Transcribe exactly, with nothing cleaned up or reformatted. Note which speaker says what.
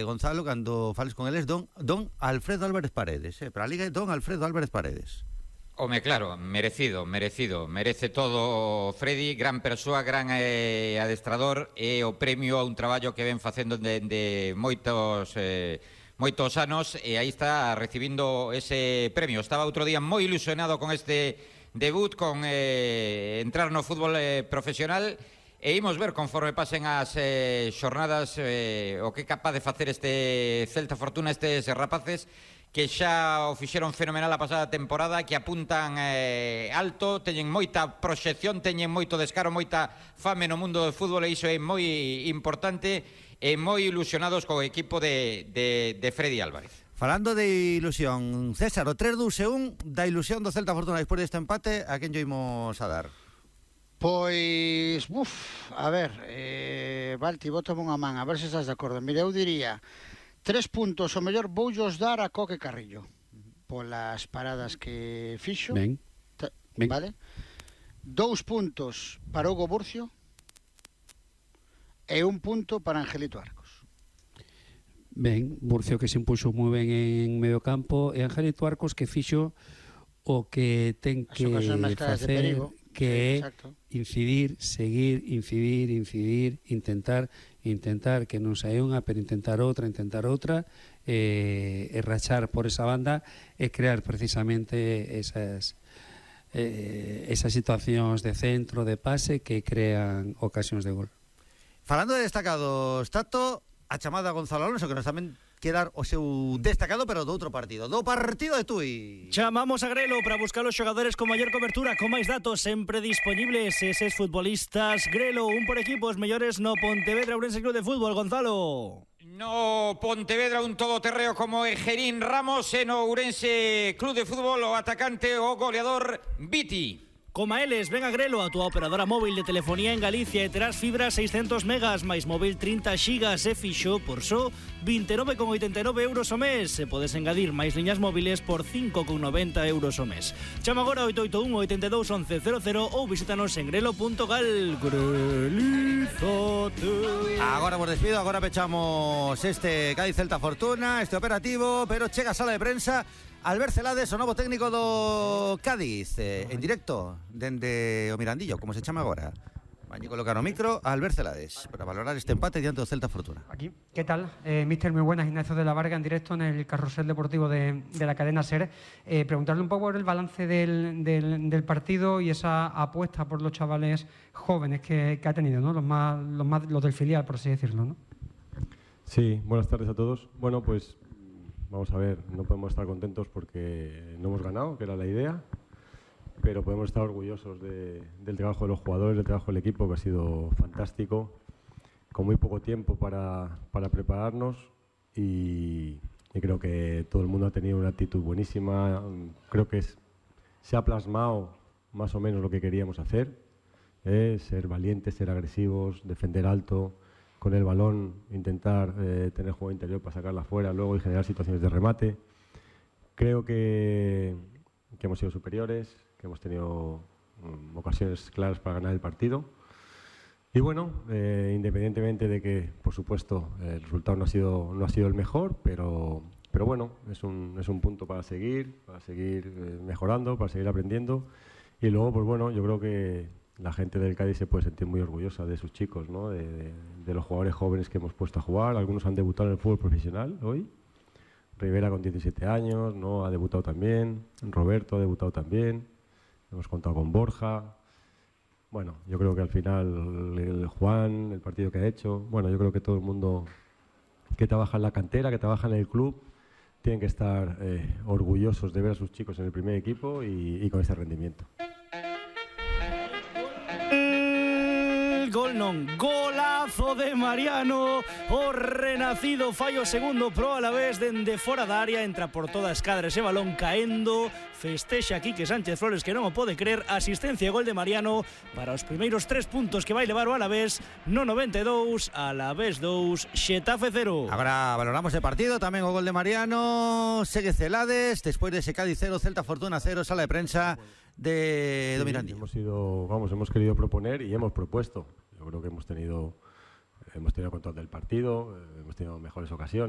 Speaker 1: Gonzalo, cando fales con eles, don, don Alfredo Álvarez Paredes, eh? Para a Liga é don Alfredo Álvarez Paredes.
Speaker 2: Home, claro, merecido, merecido. Merece todo Freddy, gran persoa, gran eh, adestrador, e o premio a un traballo que ven facendo de, de moitos... Eh, moitos anos, e aí está recibindo ese premio. Estaba outro día moi ilusionado con este debut, con eh, entrar no fútbol eh, profesional, e imos ver conforme pasen as eh, xornadas eh, o que é capaz de facer este Celta Fortuna, estes rapaces que xa o fixeron fenomenal a pasada temporada, que apuntan eh, alto, teñen moita proxección, teñen moito descaro, moita fame no mundo do fútbol, e iso é moi importante, e moi ilusionados co equipo de, de, de Freddy Álvarez.
Speaker 1: Falando de ilusión, César, o tres dous un da ilusión do Celta Fortuna despois deste empate, a quen lle imos a dar?
Speaker 3: Pois, uf, a ver, eh, Valti, bótame unha man, a ver se estás de acordo. Mira, eu diría, tres puntos, o mellor voullos dar a Coque Carrillo, polas paradas que fixo.
Speaker 4: Ben, ben.
Speaker 3: Vale? Dous puntos para Hugo Burcio, e un punto para Angelito Arcos.
Speaker 4: Ben, Burcio que se impuxo moi ben en medio campo, e Angelito Arcos que fixo o que ten que facer, que é incidir, seguir, incidir, incidir, intentar, intentar que non saia unha, pero intentar outra, intentar outra, e, e rachar por esa banda e crear precisamente esas eh, esas situacións de centro, de pase, que crean ocasións de gol.
Speaker 1: Falando de destacados, Tato, a chamada Gonzalo Alonso, que nos tamén quedar o seu destacado, pero do outro partido, do partido de Tui.
Speaker 5: Chamamos a Grelo para buscar os xogadores con maior cobertura, con máis datos sempre disponibles, eses futbolistas. Grelo, un por equipo, os mellores no Pontevedra Ourense Club de Fútbol. Gonzalo.
Speaker 2: No Pontevedra un todoterreo como Egerín Ramos, e no Ourense Club de Fútbol o atacante, o goleador Viti.
Speaker 5: Coma eles, ven a Grelo, a túa operadora móvil de telefonía en Galicia, e terás fibra seiscentos megas, máis móvil trinta xigas, e fixo por só vinte e nove con oitenta e nove euros o mes. E podes engadir máis liñas móviles por cinco con noventa euros o mes. Chama agora oito oito un, oito dous, once cero cero ou visítanos en grelo punto gal. Grelizate.
Speaker 1: Agora vos despido, agora pechamos este Cádiz Celta Fortuna, este operativo, pero chega a sala de prensa Albert Celades, o novo técnico do Cádiz, eh, en directo dende o Mirandillo, como se chama agora. Van a colocar o micro a Albert Celades para valorar este empate diante do Celta Fortuna.
Speaker 6: Aquí, ¿qué tal? Eh, Mister, muy buenas. Ignacio de la Varga en directo en el carrusel deportivo de, de la cadena SER. Eh, preguntarle un poco por el balance del, del, del partido y esa apuesta por los chavales jóvenes que, que ha tenido, ¿no? Los más, los más, los del filial, por así decirlo, ¿no?
Speaker 7: Sí, buenas tardes a todos. Bueno, pues vamos a ver, no podemos estar contentos porque no hemos ganado, que era la idea, pero podemos estar orgullosos de, del trabajo de los jugadores, del trabajo del equipo, que ha sido fantástico, con muy poco tiempo para, para prepararnos, y, y creo que todo el mundo ha tenido una actitud buenísima. Creo que es, se ha plasmado más o menos lo que queríamos hacer, eh, ser valientes, ser agresivos, defender alto, con el balón intentar eh, tener juego interior para sacarla fuera luego y generar situaciones de remate. Creo que, que hemos sido superiores, que hemos tenido um, ocasiones claras para ganar el partido. Y bueno, eh, independientemente de que, por supuesto, el resultado no ha sido, no ha sido el mejor, pero, pero bueno, es un, es un punto para seguir, para seguir eh, mejorando, para seguir aprendiendo. Y luego, pues bueno, yo creo que la gente del Cádiz se puede sentir muy orgullosa de sus chicos, ¿no? de, de, de los jugadores jóvenes que hemos puesto a jugar. Algunos han debutado en el fútbol profesional hoy. Rivera con diecisiete años, ¿no? Ha debutado también. Roberto ha debutado también. Hemos contado con Borja. Bueno, yo creo que al final el Juan, el partido que ha hecho, bueno, yo creo que todo el mundo que trabaja en la cantera, que trabaja en el club, tienen que estar eh, orgullosos de ver a sus chicos en el primer equipo y, y con ese rendimiento.
Speaker 5: Gol non, golazo de Mariano, o renacido fallo segundo pro a la vez dende fora da área, entra por toda a escadra ese balón caendo, festexa Quique Sánchez Flores que non o pode creer, asistencia e gol de Mariano para os primeiros tres puntos que vai levar o Alavés no noventa e dous, Alavés dous, Xetafe cero.
Speaker 1: Agora valoramos o partido, tamén o gol de Mariano, segue Celades, despois de ese Cádiz cero, Celta Fortuna cero, sala de prensa de
Speaker 7: sí,
Speaker 1: Mirandillo.
Speaker 7: Hemos ido, vamos, hemos querido proponer y hemos propuesto. Yo creo que hemos tenido, hemos tenido control del partido, hemos tenido mejores ocasiones.